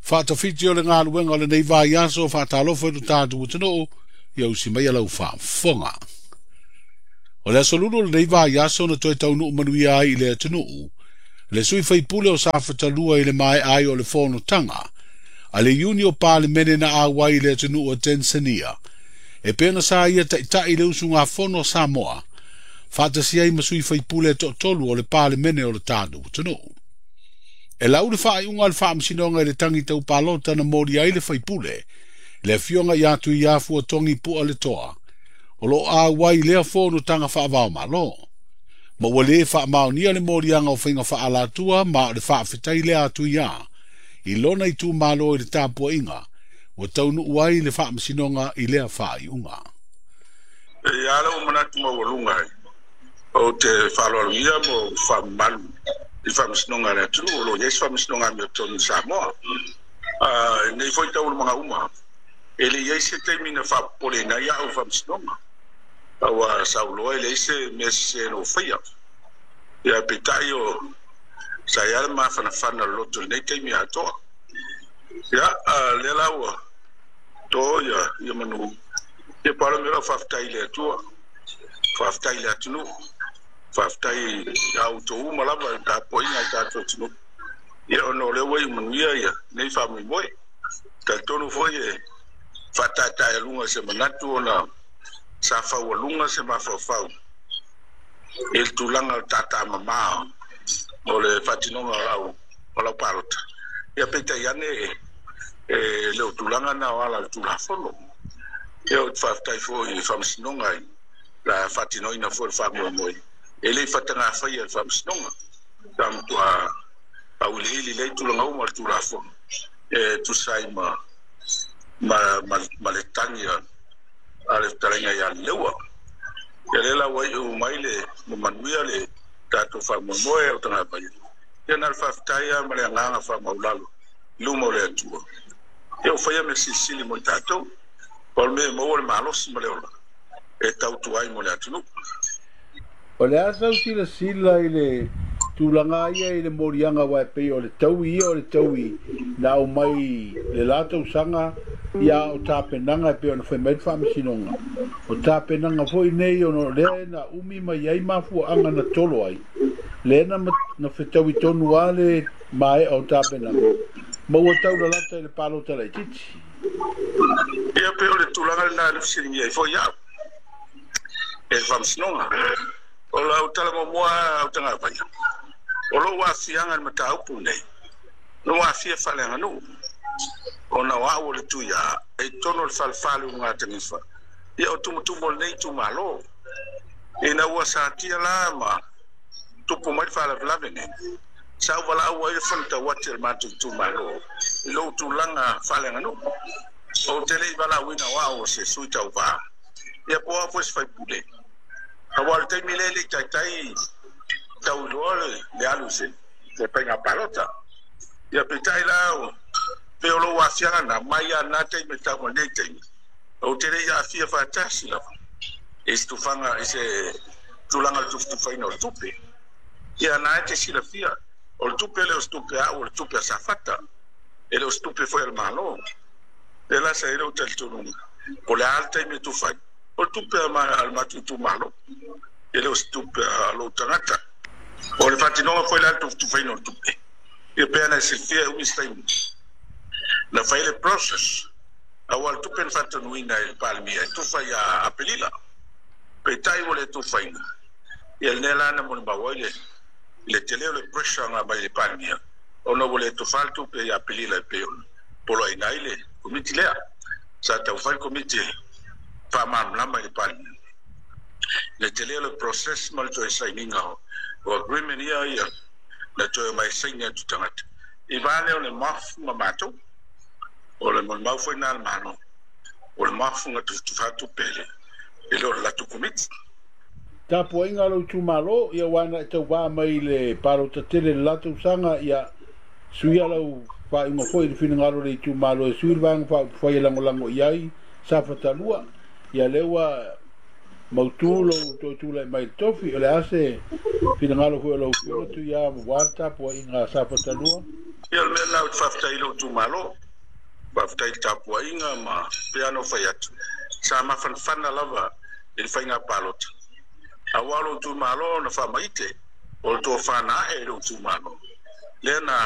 Faatafiti o le galuega o lenei vaiaso, faatalofa i lo tatou atunuu, ia usi mai lau faafofoga. O le aso Lulu o lenei vaiaso na toe taunuu manuia ai i le atunuu, le sui faipule o Safatalua i le maea ai o le fonotaga a le Iuni o Palemene na auai i le atunuu o Tanzania, e pei ona sa ia taitai le usugafono a Samoa, faatasi ai ma sui faipule e toatolu o le Palemene o le tatou atunuu. E lau le faaiuga a le Faamasinoga i le tagi tau palota na moli ai le faipule, le afioga ia Tuiafu Togi Pua le Toa, o lo o auai lea fonotaga faavaomalo. Ma ua lē faamaonia le moliaga o faiga faaalatua ma o le faafetai lea a Tuiā i lona itumalo i le tapuaiga ua taunuu ai le Faamasinoga i lea faaiuga. E ia lau manatu maualuga ai, ou te faaaloalogia mo faamamalu i Faamasinoga a le atunuu, o lo o i ai se Faamasinoga amiotonu i Samoa. Nei foi taualumaga uma, e le i ai se taimi na faapopoleina ai au Faamasinoga. Ua sauloa e leai se mea sese na ou faia. Ia peitai o sa i ai le mafanafana o le loto i lenei taimi atoa. Ia, lea la ua to ia manu. Ia palo me lau faafetai i le Atua, faafetai i le atunuu, faafetai ia outou uma lava i tapuaiga i tatou atunuu. Ia ona o lea ua iu manuia ia nei faamoemoe. Talitonu foi e faataetaealuga se manatu ona sa faualuga se mafaufau i le tulaga o le tatamamā o le faatinoga o lau palota. Ia peitai ane e le o tulaga na o ala o le Tulafono. Ia ou te faafetai foi i le Faamasinoga i la faatinoina foi le faamoemoe e le i fatagafaia le Faamasinoga. Sa matua auiliili lea tulaga uma o le Tulafono e tusa ai ma le tagi a le fetalaiga ia Leua. Ia lea la ua iu mai le manuia le tatou faamoemoe o tagata. Ia na le faafetai lava ma le agaga faamaulalo i luma o le Atua. Ia o faia mea silisili mo i tatou. O le mea e maua le malosi ma le ola e tautua ai mo le atunuu. O le a sau silasila i le tulaga ia i le moliaga wa e pei o le taui ia o le taui na au mai le la tausaga ia o tapenaga e pei ona fai mai le Faamasinoga. O tapenaga foi nei ona o lea na umi mai ai mafuaaga na tolo ai, lea na fetaui tonu a le maea o tapenaga ma ua taulalata i le palota laitiiti. Ia pei o le tulaga lena na fesiligia ai foi au e le Faamasinoga. O lau tala muamua au tagavaia, o lou aafiaga i le mataupu nei, na ua aafia faaleaganuu ona o au o le Tuiā e i totonu o le falefalu o Gatanifa, ia o tumutumu o lenei itumalo. Ina ua satia la ma tupu mai le faalavelave nei, sa ou valaau ai le fono tauati a le matou itumalo i lou tulaga faaleaganuu. Ou te le i valaauina o au o se sui tauvā, ia po o au foi se faipule. Aua o le taimi lea e le i taitai tauiloa le alu i se faiga palota. Ia peitai la pei o lou aafiaga na mai lava na taimi e tau mai lenei taimi, ou te le i aafia faatasi lava i se tufaga i se tulaga o le tufatufaina o le tupe. Ia na e te silafia, o le tupe le o se tupe a au, o le tupe a Safata, e le o se tupe foi a le Malo. Lea la sa i ai lou talitonuga, po o le a le taimi e tufa ai, o le tupe a le matou itumalo, e le o se tupe a lou tagata. O le faatinoga foi la le tufatufaina o le tupe, ia pei ona e silafia e umi se taimi na fai le process, aua o le tupe na faatonuina e le Palemia e tufa ia Aperila, peitai ua le tufaina. Ia lenei la na molimau ai le tele o le pressure na mai le Palemia ona ua le tufa le tupe ia Aperila e pei ona poloaiina ai le komiti lea. Sa taufai le komiti e faamalamalama i le Palemia le tele o le process ma le toe sainiga o agreement ia na toe mai saini atu tagata. I va lea o le mafu ma matou, o le molimau foi na le Malo, o le mafu na tufatufa tupe e le o le latou komiti. Tapuaiga a lou itumalo, ia ua na e tauvā mai i le palota tele le la tausaga, ia suia lau faaiuga foi i le finagalo o le itumalo e sui le vaega faaupufai e lagolago i ai Safatalua. Ia lea ua mautu lou toe tulai mai i le tofi, o le a se finagalo foi o lau afioga Tuiā ua le tapuaiga a Safatalua? Ia o le mea lena ou te faafetai i lou itumalo, faafetai i le tapuaiga ma pei lava ona ou fai atu, sa mafanafana lava i le faiga palota, aua o lou itumalo na faamaite, o le tofa na ae i lou itumalo lea na